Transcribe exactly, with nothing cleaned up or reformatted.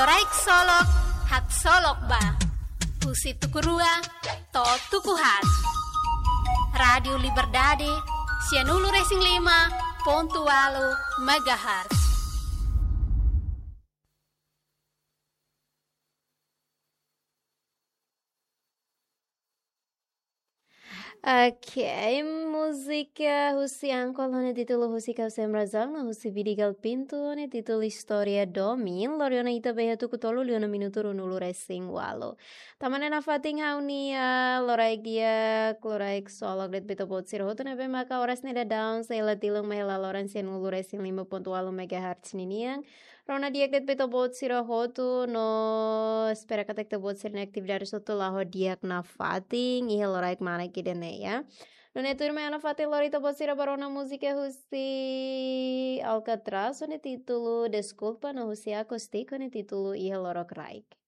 Loraik Solok, haksolok ba. Husi tuku rua to'o tuku haat. Rádiu Liberdade, sianulu-resin-lima pontu ualu megahertz. Oke, múzika husi Ankola ho nia títulu Husi Kau Sem Razão, no husi Vidigal Pinto ho nia títulu Istória Domin. Lori ona ita ba iha tuku tolu liu ona minutu ruanulu-resin-ualu. Tama ona nafatin ha'u-nia loraik di'ak, loraik solok de'it ba ita-boot sira hotu ne'ebé maka oras ne'e daudaun sei la tilun mai hela loron sianulu-resin-lima pontu ualu megahertz ninian. Rona di'ak de'it ba ita-boot sira hotu no espera katak ita-boot sira-nia atividade hotu la'o di'ak nafatin iha loraik manas ida-ne'e, ya. Nune'e tuirmai ha'u nafatin lori ita-boot sira ba rona múzika husi Alcatraz ho nia títulu Deskulpa no husi Acústico ho nia títulu Iha Lorokraik.